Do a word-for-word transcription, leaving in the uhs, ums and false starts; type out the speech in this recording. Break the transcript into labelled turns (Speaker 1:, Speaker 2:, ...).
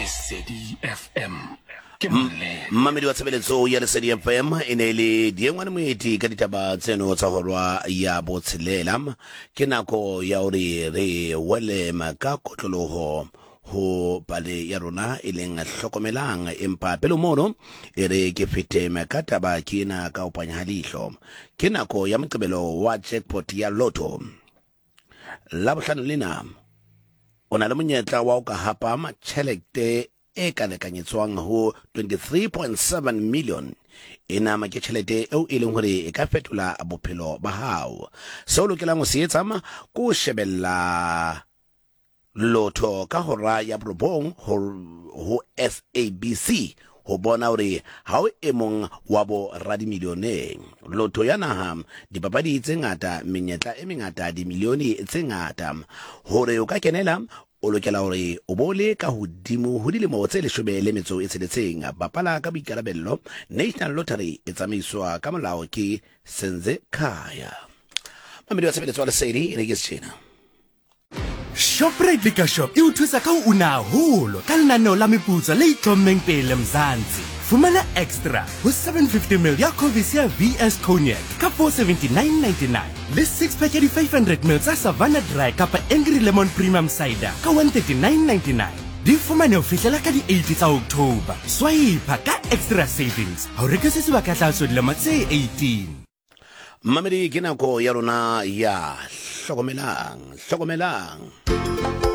Speaker 1: Lesedi F M ke molemo.
Speaker 2: Mmamedi wa tshebeletso ya Lesedi F M e ne le Diengwane Moeti ka ditaba tseno tsa hora ya botshelela. Ke nako ya hore re wele ka kotloloho ho pale ya rona e leng hlokomelang, empa pele mono e re ke fete ka taba ke ena ka ho panya ha leihlo. Ke nako ya Moqebelo wa jackpot ya Lotto. La bohlano lena o na le monyetla wa ho ka hapa tjhelete e ka lekanyetswang ho twenty-three point seven million. Ena ke tjhelete eo e leng hore e ka fetola bophelo ba hao. Seo o lokelang ho se etsa ke ho shebella Lotto ka hora ya borobong ho, ho S A B C ho bona hore ha o e mong wa bo radimilioneng. Lotto ya naha, dipapadi tse ngata, menyetla e mengata, dimilione tse ngata. Hore o ka kenela, o lokela hore o bo le ka hodimo ho dilemo tse leshome le metso e tsheletseng. Bapala ka boikarabello. National Lottery e tsamaiswa ka molao ke Senze Khaya. Mamedi wa tshebeletso wa Lesedi, e re ke setjhena.
Speaker 3: Shoprite Liquor Shop e o thusa ka ho una haholo ka lenaneo la meputso le itlhommeng pele Mzansi. Fumana extra ho seven fifty mil ya Covis ya V S Cognac ka four seventy-nine ninety-nine le six pack ya di five hundred mil tsa Savannah Dry kapa Angry Lemon Premium Cider ka one thirty-nine ninety-nine. Di fumane ho fihlela ka di eight tsa October. Swipe ka extra savings ha o reke se sebaka tlaso dilemo tse eighteen.
Speaker 2: Mamedi, ke nako ya rona ya hlokomelang, hlokomelang.